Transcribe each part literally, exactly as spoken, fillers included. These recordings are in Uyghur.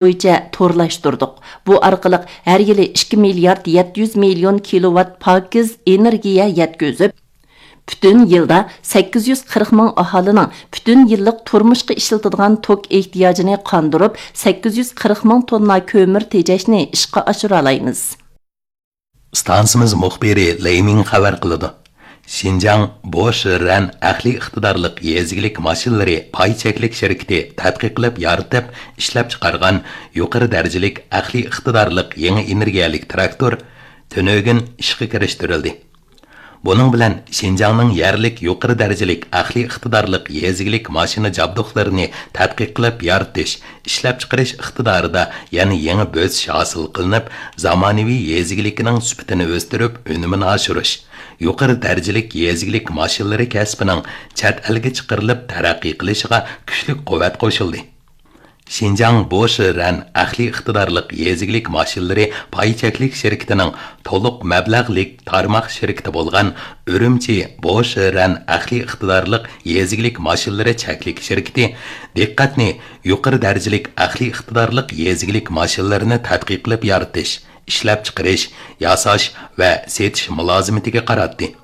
بويىچە تورلاشتۇردۇق. بۇ ئارقىلىق ھەر يىلى ئىككى مىليارد يەتتە يۈز مىليون كىلوۋات پاكىز ئېنېرگىيە يەتكۈزۈپ، پۈتۈن يىلدا سەككىز يۈز قىرىق مىڭ ئاھالىنىڭ پۈتۈن يىللىق تۇرمۇشقا ئىشلىتىدىغان توك ئېھتىياجىنى قاندۇرۇپ، سەككىز يۈز قىرىق مىڭ توننا كۆمۈر تېجەشنى ئىشقا ئاشۇرالايمىز. ئىستانسىمىز مۇخبىرى لېي مىڭ خەۋەر قىلىدۇ. شىنجاڭ بوشرەن ئەقلىي ئىقتىدارلىق يېزا ئىگىلىك ماشىنىلىرى پاي چەكلىك شىركىتى تەتقىق قىلىپ يارىتىپ، ئىشلەپچىقارغان يۇقىرى دەرىجىلىك ئەقلىي ئىقتىدارلىق يېڭى ئېنېرگىيەلىك تىراكتور تۈنۈگۈن ئىشقا كىرىشتۈرۈلدى. بۇنىڭ بىلەن شىنجاڭنىڭ يەرلىك يۇقىرى دەرىجىلىك ئەقلىي ئىقتىدارلىق يېزا ئىگىلىك ماشىنا جابدۇقلىرىنى تەتقىق قىلىپ يارىتىش، ئىشلەپچىقىرىش ئىقتىدارىدا يەنە يېڭى بۆسۈش ھاسىل قىلىنىپ، زامانىۋى يېزا ئىگىلىكىنىڭ سۈپىتىنى ئۆستۈرۈپ، ئۈنۈمىنى ئاشۇرۇش، يۇقىرى دەرىجىلىك يېزا ئىگىلىك ماشىنىلىرى كەسپىنىڭ چەت ئەلگە چىقىرىلىپ تەرەققىي قىلىشىغا كۈچلۈك قۇۋۋەت قوشۇلدى. شىنجاڭ بوشرەن ئەقلىي ئىقتىدارلىق يېزا ئىگىلىك ماشىنىلىرى پاي چەكلىك شىركىتىنىڭ تولۇق مەبلەغلىك تارماق شىركىتى بولغان ئۈرۈمچى بوشرەن ئەقلىي ئىقتىدارلىق يېزا ئىگىلىك ماشىنىلىرى چەكلىك شىركىتى دىققەتنى يۇقىرى دەرىجىلىك ئەقلىي ئىقتىدارلىق يېزا ئىگىلىك ماشىنىلىرىنى تەتقىق قىلىپ يارىتىش، ئىشلەپچىقىرىش، ياساش ۋە سېتىش مۇلازىمىتىگە قاراتتى.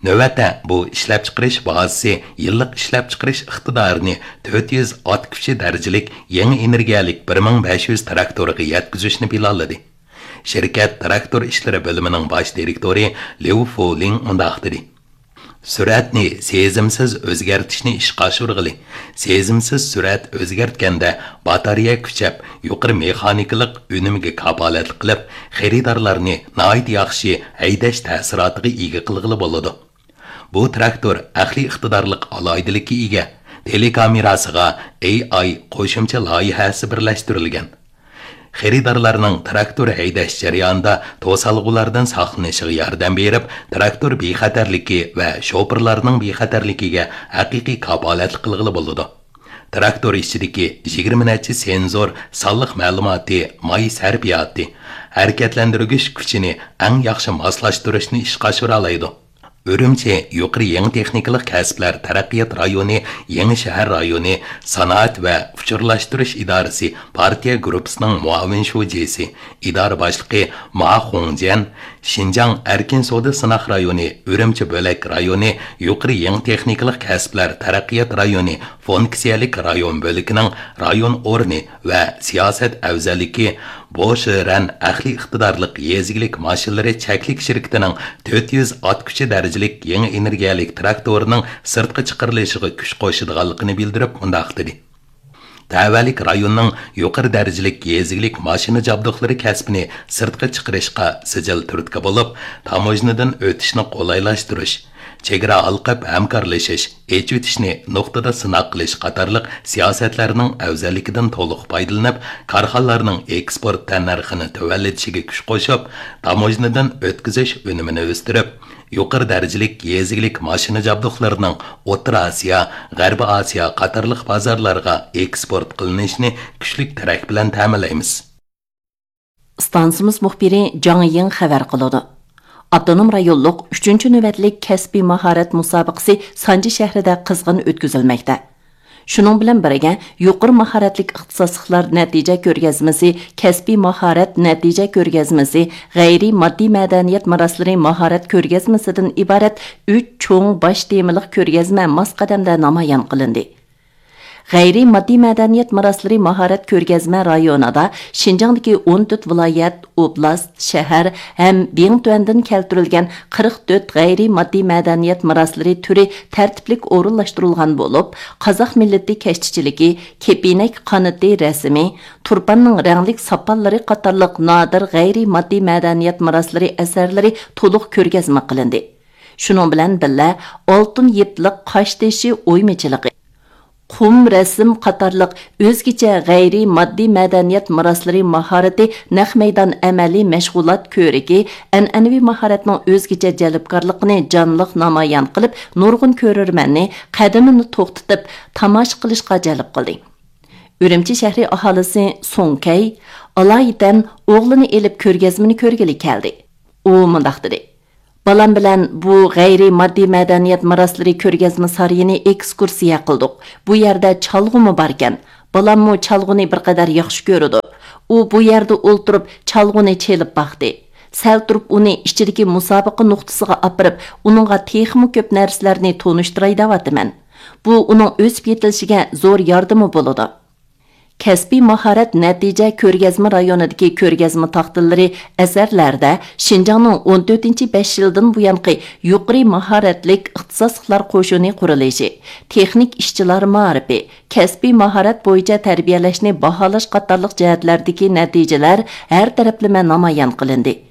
نۆۋەتتە بۇ ئىشلەپچىقىرىش بازىسى يىللىق ئىشلەپچىقىرىش ئىقتىدارىنى تۆت يۈز ئات كۈچى دەرىجىلىك يېڭى ئېنېرگىيەلىك بىر مىڭ بەش يۈز تىراكتورغا يەتكۈزۈشنى پىلانلىدى. شىركەت تىراكتور ئىشلىرى بۆلۈمىنىڭ باش دىرېكتورى ليۇ فۇلىڭ مۇنداق دېدى: سۈرئەتنى سېزىمسىز ئۆزگەرتىشنى ئىشقا ئاشۇرغىلى. سېزىمسىز سۈرئەت ئۆزگەرتكەندە، باتارېيە كۈچەپ، يۇقىرى مېخانىكىلىق ئۈنۈمگە كاپالەتلىك قىلىپ، خېرىدارلارنى ناھايىتى ياخشى ھەيدەش تەسىراتىغا ئىگە قىلغىلى بولىدۇ. بۇ تىراكتور ئەقلىي ئىقتىدارلىق ئالاھىدىلىككە ئىگە. تېلېكامېراسىغا ئېي ئاي قوشۇمچە لايىھەسى بىرلەشتۈرۈلگەن. خېرىدارلارنىڭ تىراكتور ھەيدەش جەريانىدا توسالغۇلاردىن ساقلىنىشىغا ياردەم بېرىپ، تىراكتور بىخەتەرلىكى ۋە شوپۇرلارنىڭ بىخەتەرلىكىگە ھەقىقىي كاپالەتلىك قىلغىلى بولىدۇ. تىراكتور ئىچىدىكى يىگىرمە نەچچە سېنزور سانلىق مەلۇماتى، ماي سەرپىياتى، ھەرىكەتلەندۈرگۈچ كۈچىنى ئەڭ ياخشى ماسلاشتۇرۇشنى ئىشقا ئاشۇرالايدۇ. ئۈرۈمچى يۇقىرى يېڭى تېخنىكىلىق كەسىپلەر تەرەققىيات رايونى، يېڭى شەھەر رايونى، سانائەت ۋە ئۇچۇرلاشتۇرۇش ئىدارىسى پارتىيە گۇرۇپپىسىنىڭ مۇئاۋىن شۇجىسى، ئىدارە باشلىقى ما خۇڭجيەن، شىنجاڭ ئەركىن سودا سىناق رايونى، ئۈرۈمچى بۆلەك رايونى يۇقىرى يېڭى تېخنىكىلىق كەسىپلەر تەرەققىيات رايونى فۇنكسىيەلىك رايون بۆلىكىنىڭ رايون ئورنى ۋە سىياسەت ئەۋزەللىكى بوشرەن ئەقلىي ئىقتىدارلىق يېزا ئىگىلىك ماشىنىلىرى چەكلىك شىركىتىنىڭ تۆت يۈز ئات كۈچى دەرىجىلىك يېڭى ئېنېرگىيەلىك تىراكتورىنىڭ سىرتقا چىقىرىلىشىغا كۈچ قوشىدىغانلىقىنى بىلدۈرۈپ مۇنداق دېدى: تەۋەلىك رايوننىڭ يۇقىرى دەرىجىلىك يېزا ئىگىلىك ماشىنا جابدۇقلىرى كەسپىنى سىرتقا چىقىرىشقا سىجىل تۈرتكە بولۇپ، تاموژنىدىن ئۆتۈشنى قولايلاشتۇرۇش، چېگرا ھالقىپ ھەمكارلىشىش، ئېچىۋېتىشنى نۇقتىدا سىناق قىلىش قاتارلىق سىياسەتلەرنىڭ ئەۋزەللىكىدىن تولۇق پايدىلىنىپ، كارخانىلارنىڭ ئېكسپورت تەننەرخىنى تۆۋەنلىتىشىگە كۈچ قوشۇپ، تاموژنىدىن ئۆتكۈزۈش ئۈنۈمىنى ئۆستۈرۈپ، يۇقىرى دەرىجىلىك يېزا ئىگىلىك ماشىنا جابدۇقلىرىنىڭ ئوتتۇرا ئاسىيا، غەربىي ئاسىيا قاتارلىق بازارلارغا ئېكسپورت قىلىنىشىنى كۈچلۈك تىرەك بىلەن تەمىنلەيمىز. ئىستانسىمىز مۇخبىرى جاڭ يىڭ خەۋەر قىلىدۇ. ئاپتونوم رايونلۇق ئۈچىنچى نۆۋەتلىك كەسپىي ماھارەت مۇسابىقىسى سانجى شەھىرىدە قىزغىن ئۆتكۈزۈلمەكتە. شۇنىڭ بىلەن بىرگە، يۇقىرى ماھارەتلىك ئىختىساسلىقلار نەتىجە كۆرگەزمىسى، كەسپىي ماھارەت نەتىجە كۆرگەزمىسى، غەيرىي ماددىي مەدەنىيەت مىراسلىرى ماھارەت كۆرگەزمىسىدىن ئىبارەت ئۈچ چوڭ باش تېمىلىق كۆرگەزمە ماس قەدەمدە نامايان قىلىندى. غەيرىي ماددىي مەدەنىيەت مىراسلىرى ماھارەت كۆرگەزمە رايونىدا شىنجاڭدىكى ئون تۆت ۋىلايەت، ئوبلاست، شەھەر ھەم بىڭتۈەندىن كەلتۈرۈلگەن قىرىق تۆت غەيرىي ماددىي مەدەنىيەت مىراسلىرى تۈرى تەرتىپلىك ئورۇنلاشتۇرۇلغان بولۇپ، قازاق مىللىتى كەشتىچىلىكى، كېپىنەك قانىتى رەسىمى، تۇرپاننىڭ رەڭلىك ساپانلىرى قاتارلىق نادىر غەيرىي ماددىي مەدەنىيەت مىراسلىرى ئەسەرلىرى تولۇق كۆرگەزمە قىلىندى. شۇنىڭ بىلەن بىللە، ئالتۇن يىپلىق قاشتېشى ئويمىچىلىقى، قۇم رەسىم قاتارلىق ئۆزگىچە غەيرىي ماددىي مەدەنىيەت مىراسلىرى ماھارىتى نەق مەيدان ئەمەلىي مەشغۇلات كۆرىكى ئەنئەنىۋى ماھارەتنىڭ ئۆزگىچە جەلپكارلىقىنى جانلىق نامايان قىلىپ، نۇرغۇن كۆرۈرمەننى قەدىمىنى توختىتىپ تاماشا قىلىشقا جەلپ قىلدى. ئۈرۈمچى شەھىرى ئاھالىسى سۇڭ كەي ئالايىتەن ئوغلىنى ئېلىپ كۆرگەزمىنى كۆرگىلى كەلدى. ئۇ مۇنداق دېدى: بالام بىلەن بۇ غەيرىي ماددىي مەدەنىيەت مىراسلىرى كۆرگەزمە سارىيىنى ئېكسكۇرسىيە قىلدۇق. بۇ يەردە چالغۇمۇ باركەن. بالاممۇ چالغۇنى بىر قەدەر ياخشى كۆرىدۇ. ئۇ بۇ يەردە ئولتۇرۇپ چالغۇنى چېلىپ باقتى. سەل تۇرۇپ ئۇنى ئىچىدىكى مۇسابىقە نۇقتىسىغا ئاپىرىپ، ئۇنىڭغا تېخىمۇ كۆپ نەرسىلەرنى تونۇشتۇراي دەۋاتىمەن. بۇ ئۇنىڭ ئۆسۈپ يېتىلىشىگە زور ياردىمى بولىدۇ. كەسپىي ماھارەت نەتىجە كۆرگەزمە رايونىدىكى كۆرگەزمە تاختىلىرى، ئەسەرلەردە شىنجاڭنىڭ ئون تۆتىنچى بەش يىلدىن بۇيانقى يۇقىرى ماھارەتلىك ئىختىساسلىقلار قوشۇنى قۇرۇلۇشى، تېخنىك ئىشچىلار مائارىپى، كەسپىي ماھارەت بويىچە تەربىيەلەشنى باھالاش قاتارلىق جەھەتلەردىكى نەتىجىلەر ھەر تەرەپلىمە نامايان قىلىندى.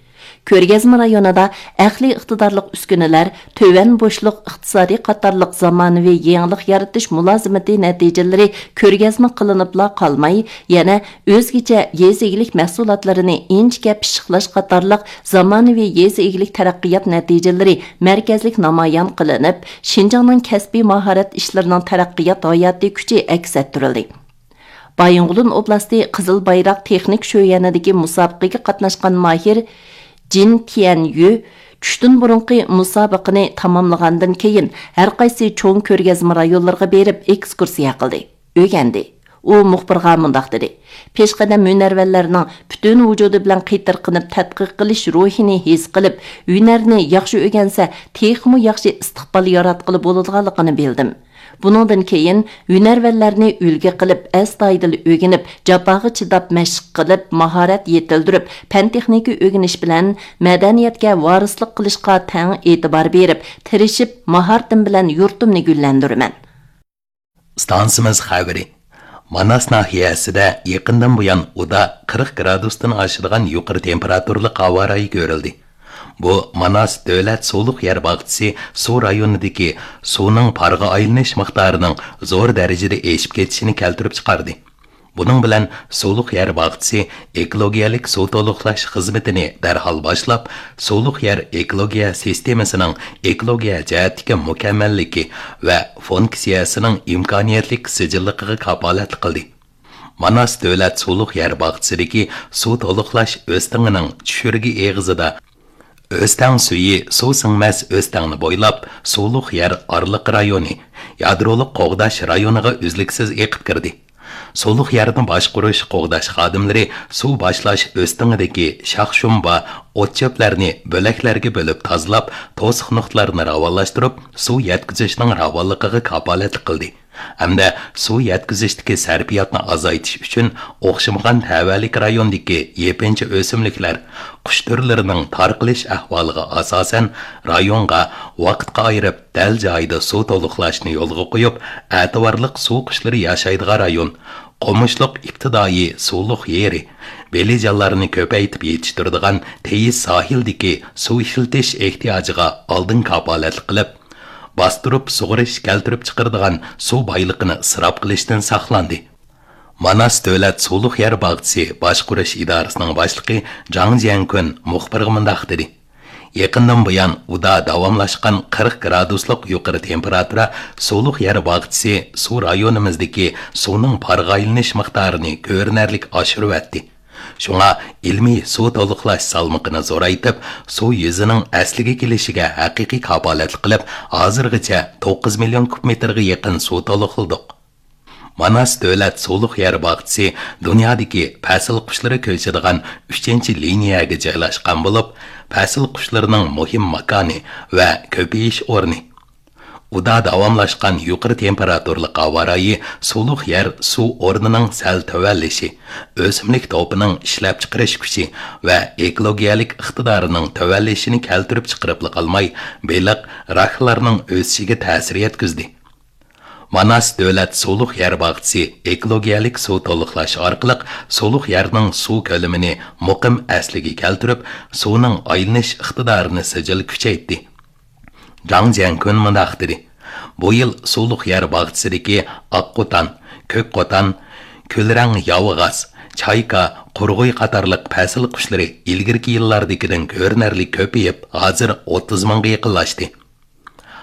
كۆرگەزمە رايونىدا ئەقلىي ئىقتىدارلىق ئۈسكۈنىلەر، تۆۋەن بوشلۇق ئىقتىسادى قاتارلىق زامانىۋى يېڭىلىق يارىتىش مۇلازىمىتى نەتىجىلىرى كۆرگەزمە قىلىنىپلا قالماي، يەنە ئۆزگىچە يېزا ئىگىلىك مەھسۇلاتلىرىنى ئىنچىكە پىششىقلاش قاتارلىق زامانىۋى يېزا ئىگىلىك تەرەققىيات نەتىجىلىرى مەركەزلىك نامايان قىلىنىپ، شىنجاڭنىڭ كەسپىي ماھارەت ئىشلىرىنىڭ تەرەققىيات ھاياتىي كۈچى ئەكس ئەتتۈرۈلدى. بايىنغولىن ئوبلاستى قىزىل بايراق تېخنىك شۆيەنىدىكى مۇسابىقىگە قاتناشقان ماھىر جىن تيەنيۈ چۈشتىن بۇرۇنقى مۇسابىقىنى تاماملىغاندىن كېيىن، ھەرقايسى چوڭ كۆرگەزمە رايونلىرىغا بېرىپ ئېكسكۇرسىيە قىلدى، ئۆگەندى. ئۇ مۇخبىرغا مۇنداق دېدى: «پېشقەدەم ھۈنەرۋەنلەرنىڭ پۈتۈن ۋۇجۇدى بىلەن قېتىرقىنىپ تەتقىق قىلىش روھىنى ھېس قىلىپ، ھۈنەرنى ياخشى ئۆگەنسە، تېخىمۇ ياخشى ئىستىقبال ياراتقىلى بولىدىغانلىقىنى بىلدىم.» بۇنىڭدىن كېيىن ھۈنەرۋەنلەرنى ئۈلگە قىلىپ، ئەستايىدىل ئۆگىنىپ، جاپاغا چىداپ مەشىق قىلىپ، ماھارەت يېتىلدۈرۈپ، پەن-تېخنىكا ئۆگىنىش بىلەن مەدەنىيەتكە ۋارىسلىق قىلىشقا تەڭ ئېتىبار بېرىپ، تىرىشىپ، ماھارىتىم بىلەن يۇرتۇمنى گۈللەندۈرىمەن. ئىستانسىمىز خەۋىرى. ماناس ناھىيەسىدە يېقىندىن بۇيان ئۇدا قىرىق گرادۇستىن ئاشىدىغان يۇقىرى تېمپېراتۇرىلىق ھاۋا رايى كۆرۈلدى. بۇ ماناس دۆلەت سۇلۇق يەر باغچىسى سۇ رايونىدىكى سۇنىڭ پارغا ئايلىنىش مىقدارىنىڭ زور دەرىجىدە ئېشىپ كېتىشىنى كەلتۈرۈپ چىقاردى. بۇنىڭ بىلەن سۇلۇق يەر باغچىسى ئېكولوگىيەلىك سۇ تولۇقلاش خىزمىتىنى دەرھال باشلاپ، سۇلۇق يەر ئېكولوگىيە سىستېمىسىنىڭ ئېكولوگىيە جەھەتتىكى مۇكەممەللىكى ۋە فۇنكسىيەسىنىڭ ئىمكانىيەتلىك سىجىللىقىغا كاپالەتلىك قىلدى. ماناس دۆلەت سۇلۇق يەر باغچىسىدىكى سۇ تولۇقلاش ئۆستىڭىنىڭ چۈشۈرگە ئېغىزىدا ئۆستەڭ سۈيى سۇ سىڭمەس ئۆستەڭنى بويلاپ، سۇلۇق يەر ئارىلىق رايونى، يادرولۇق قوغداش رايونىغا ئۈزلۈكسىز ئېقىپ كىردى. سۇلۇق يەرنى باشقۇرۇش، قوغداش خادىملىرى سۇ باشلاش ئۆستىڭىدىكى شاخ-شۇمبا، ئوت-چۆپلەرنى بۆلەكلەرگە بۆلۈپ تازىلاپ، توسۇق نۇقتىلارنى راۋانلاشتۇرۇپ، سۇ يەتكۈزۈشنىڭ راۋانلىقىغا كاپالەتلىك قىلدى. ھەمدە سۇ يەتكۈزۈشتىكى سەرپىياتنى ئازايتىش ئۈچۈن ئوخشىمىغان تەۋەلىك رايوندىكى يېپىنچا ئۆسۈملۈكلەر، قۇش تۈرلىرىنىڭ تارقىلىش ئەھۋالىغا ئاساسەن، رايونغا ۋاقىتقا ئايرىپ، دەل جايىدا سۇ تولۇقلاشنى يولغا قويۇپ، ئەتىۋارلىق سۇ قۇشلىرى ياشايدىغان رايون، قومۇشلۇق ئىپتىدائىي سۇلۇق يېرى، بېلىجانلارنى كۆپەيتىپ يېتىشتۈرىدىغان تېيىز ساھىلدىكى سۇ ئىشلىتىش ئېھتىياجىغا ئالدىن كاپالەتلىك قىلىپ، باستۇرۇپ سۇغىرىش كەلتۈرۈپ چىقىرىدىغان سۇ بايلىقىنى ئىسراپ قىلىشتىن ساقلاندى. ماناس دۆلەت سۇلۇق يەر باغچىسى باشقۇرۇش ئىدارىسىنىڭ باشلىقى جاڭ جيەنكۈن مۇخبىرغا مۇنداق دېدى: يېقىندىن بۇيان ئۇدا داۋاملاشقان قىرىق گرادۇسلۇق يۇقىرى تېمپېراتۇرا سۇلۇق يەر باغچىسى سۇ رايونىمىزدىكى سۇنىڭ پارغا ئايلىنىش مىقدارىنى كۆرۈنەرلىك ئاشۇرۇۋەتتى. شۇڭا ئىلمىي سۇ تولۇقلاش سالمىقىنى زورايتىپ، سۇ يۈزىنىڭ ئەسلىگە كېلىشىگە ھەقىقىي كاپالەتلىك قىلىپ، ھازىرغىچە توققۇز مىليون كۇب مېتىرغا يېقىن سۇ تولۇقلىدۇق. ماناس دۆلەت سۇلۇق يەر باغچىسى دۇنيادىكى پەسىل قۇشلىرى كۆچىدىغان ئۈچىنچى لىنىيەگە جايلاشقان بولۇپ، پەسىل قۇشلىرىنىڭ مۇھىم ماكانى ۋە كۆپىيىش ئورنى. ئۇدا داۋاملاشقان يۇقىرى تېمپېراتۇرىلىق ھاۋا رايى سۇلۇق يەر سۇ ئورنىنىڭ سەل تۆۋەنلىشى، ئۆسۈملۈك توپىنىڭ ئىشلەپچىقىرىش كۈچى ۋە ئېكولوگىيەلىك ئىقتىدارىنىڭ تۆۋەنلىشىنى كەلتۈرۈپ چىقىرىپلا قالماي، بېلىق، راكلارنىڭ ئۆسۈشىگە تەسىر يەتكۈزدى. ماناس دۆلەت سۇلۇق يەر باغچىسى ئېكولوگىيەلىك سۇ تولۇقلاش ئارقىلىق سۇلۇق يەرنىڭ سۇ كۆلىمىنى مۇقىم ئەسلىگە كەلتۈرۈپ، سۇنىڭ ئايلىنىش ئىقتىدارىنى سىجىل كۈچەيتتى. جاڭ جيەنكۈن مۇنداق دېدى: بۇ يىل سۇلۇق يەر باغچىسىدىكى ئاق قوتان، كۆك قوتان، كۈلرەڭ ياۋىغاس، چايكا، قۇرغۇي قاتارلىق پەسىل قۇشلىرى ئىلگىرىكى يىللاردىكىدىن كۆرۈنەرلىك كۆپىيىپ، ھازىر ئوتتۇز مىڭغا يېقىنلاشتى.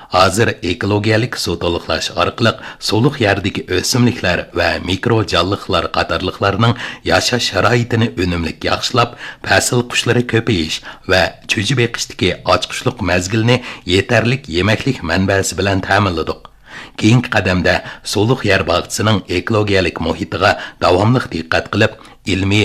ھازىر ئېكولوگىيەلىك سۇ تولۇقلاش ئارقىلىق سۇلۇق يەردىكى ئۆسۈملۈكلەر ۋە مىكرو جانلىقلار قاتارلىقلارنىڭ ياشاش شارائىتىنى ئۈنۈملۈك ياخشىلاپ، پەسىل قۇشلىرى كۆپىيىش ۋە چۈجە بېقىشتىكى ئاچقۇچلۇق مەزگىلنى يېتەرلىك يېمەكلىك مەنبەسى بىلەن تەمىنلىدۇق. كېيىنكى قەدەمدە سۇلۇق يەر باغچىسىنىڭ ئېكولوگىيەلىك مۇھىتىغا داۋاملىق دىققەت قىلىپ، ئىلمىي،